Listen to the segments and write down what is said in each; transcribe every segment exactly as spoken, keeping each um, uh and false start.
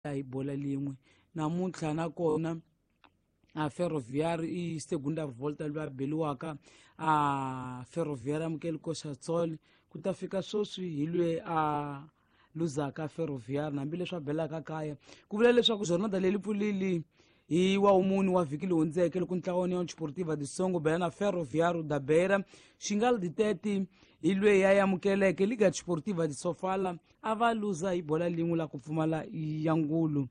Hi bola lin'we namuntlha nakona a Ferroviário i segunda volta loyi a beliwaka a Ferroviário amukeli Coxatsol ku ta fika sweswi hi lweyi a luzaka Ferroviário hambileswi a belaka kaya. Ku vula leswaku jornada leyi pfulili hi wa wumuni wa vhiki leyi hundzeke loko ntlawa União Desportiva de Songo bela na Ferroviário da Beira xingal di thirty hi lweyi ya amukeleke Liga Desportiva de Sofala a va luza hi bola lin'we la ku pfumala ya ngulu.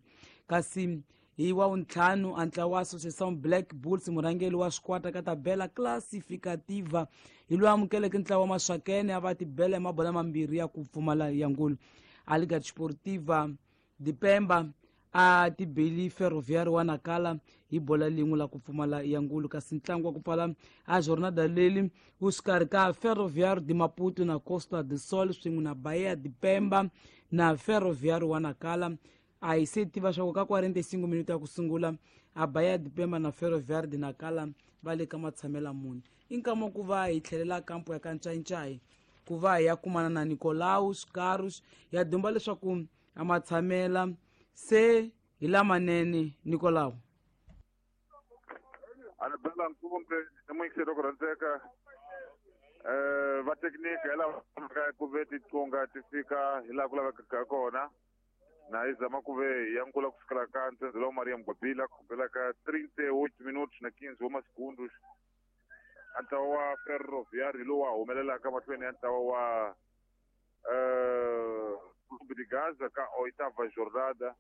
Kasi hi wa wuntlhanu a ntlawa wa Associação Black Bulls murhangeri wa swikwata ka tabela classificativa hi loyi amukeleke ntlawa wa Maswakene a va tibela hi mabola mambirhi ya ku pfumala ya ngulu. A Liga Desportiva de Pemba a tibeli Ferroviário wa Nakala hi bola lin'we la ku pfumala ya ngulu. Kasi ntlangu wa ku pfala a jornada leli wu xikarhi ka Ferroviário de Maputo na Costa do Sol swin'we na Bahia de Pemba na Ferroviário wa Nakala. A hi se tiva swa ku ka quarenta e cinco minuto ya ku sungula a Bahia de Pemba na Ferroviário de Nakala va le ka matshamela muni. I nkama ku va hi tlhelela kampo ya ka Ncayincayi ku va hi ya kumana na Nicolaus Carus ya dumba leswaku a matshamela se hi lamanene. Nicolau. Anabela Nkumbe i muyingiseri ku rhandzeka um va thekiniki hi lava ku ve tiqunga ti fika hi laha ku lavekaka kona na hi zama ku ve ya nkula ku fikela ka ntsendze lowu Maria Mgwabila ku bela ka trinta e oito minutos na quinze wa masegundos. A ntlawa wa Ferroviário lowu wa humelelaka mahlweni ya ntlawa wa um Clube de Gaza ka oitava jornada.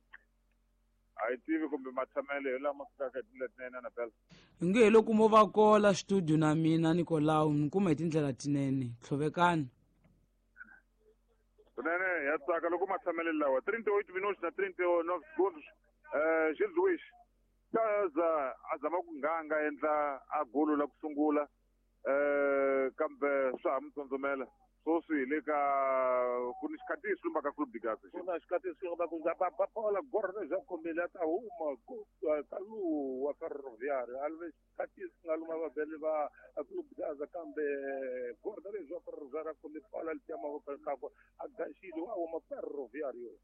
A hi tivi kumbe matshamelo hi lama fikaka hi tindlela tinene, Anabela. Hi nge hi loko mo va kola studio na mina Nicolau ni kuma hi tindlela tinene tlhovekani. Kunene ya tsaka loko matshamelo lawa trinta e oito minutos na trinta e nove segundos. um Gil Luis Gaza a zama ku nganga endla a golo la ku sungula um kambe swa ha mi tsondzomela sweswi hi le ka ku ni xikhatiso lumba ka Clube de Gaza. Ku na xikhatiso va ku va bola gorre bya kombeli a ta huma ka lowu wa Ferroviário a ve xikhatiso nga luma vabeli va Clube de Gaza kambe gorda lebyi wa Ferroviário a khome bola letiya mavoko kakwe a gaxile wa huma Ferroviário.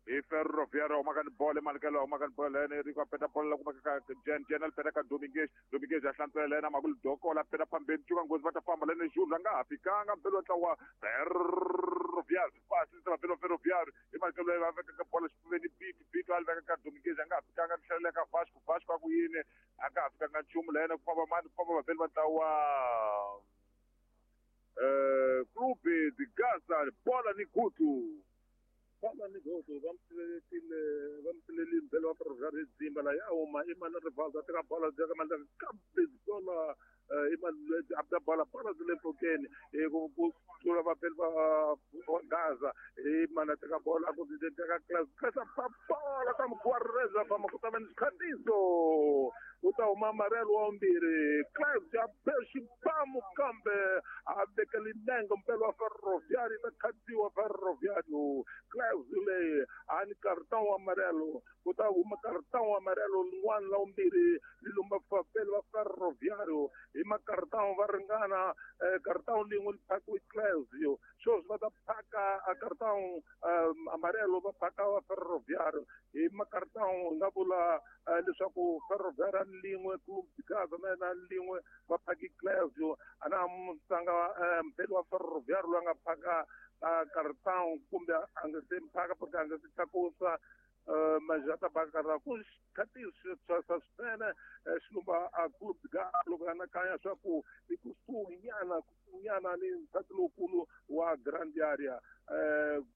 Hi Ferroviário humaka ni bolo emalikelo humaka ni bolo lene Rico a peta bolo la kumeka ka Jen Jen a peta ka Dominguez Dominguez a hlantswela lena Makulu Dokola peta phambeni cuka nghozi va ta famba lene Jules a nga ha fikanga mbelo wa ntlawa Ferroviário pasisa vabelo Ferroviário hi malikelo leyi va vekaka bolo xifuveni Bito Bito a li veka ka Dominguez a nga ha fikanga tlhelela ka Vasco Vasco a ku yini a nga ha fikanga nchumu lene ku famba mani ku famba vabeli va ntlawa um Clube de Gaza bola ni gutu. Bola ni godu va mi va mi pfulelile mbelo wa Ferroviário dzimba la ya huma i mani Rivaldo a teka bola ka mandla kambe bola i mani a ta bola bola byi le mpfhukeni hi ku ku tlula vapeli va Gaza hi mani a teka bola a ku teka class class a bola ka mugwareza famba ku ta va ni xikhatiso u ta huma amarelo wa vumbirhi class ya be xibamu kambe a vekele nenge mpelo wa Ferroviário ta khatiwa Ferroviário class leyi a ni cartão amarelo ku ta huma cartão amarelo lin'wana la vumbirhi li lumba vapeli va Ferroviário hi macartão va ringana cartão lin'we li phakiwe Clésio sweswi va ta phaka a cartão amarelo va phaka va Ferroviário hi macartão hi nga vula leswaku Ferroviário lin'we Clube de Gaza na yena lin'we va phaki Clésio a na tlanga mpeli wa Ferroviário loyi a nga phaka cartão kumbe a nga se phaka porque a nga se tlakusa mas já ta baka ku xikhatiso swa swinene xilumba a Clube de Gaza loko anakanya swa ku i kusuhi nyana kusuhinyana ni nsati lowukulu wa Grand Area um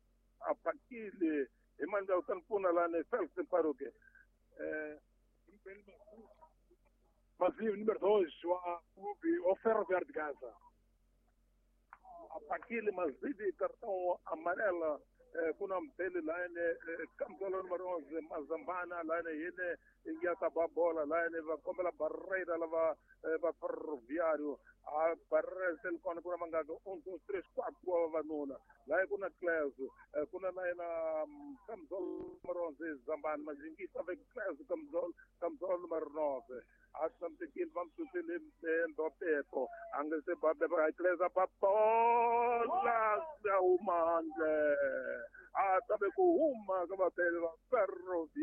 a phakile hi mani u ta ni pfuna lani Felix Mparuke um Vazio, número dois, wa clube o Ferroviário de Gaza. A phakile Mazidi cartão amarela ku na mpeli layene kamsolo numero onze Mazambana layene yine ya ta ba bola layene va kombela Barreira lava va Ferroviário a Barreira se kona ku na mangaka um dois três quatro wa vavanuna laye ku na Clésio ku na na yena kamsolo numero onze Zambana Majingisa ve Clésio kamsolo kamsolo numero nove a tshamisekile va mi susile Mbapepo a nga se ba ba Clésio ba bola ya huma handle. A tabe ku huma ka vapele va Ferroviário.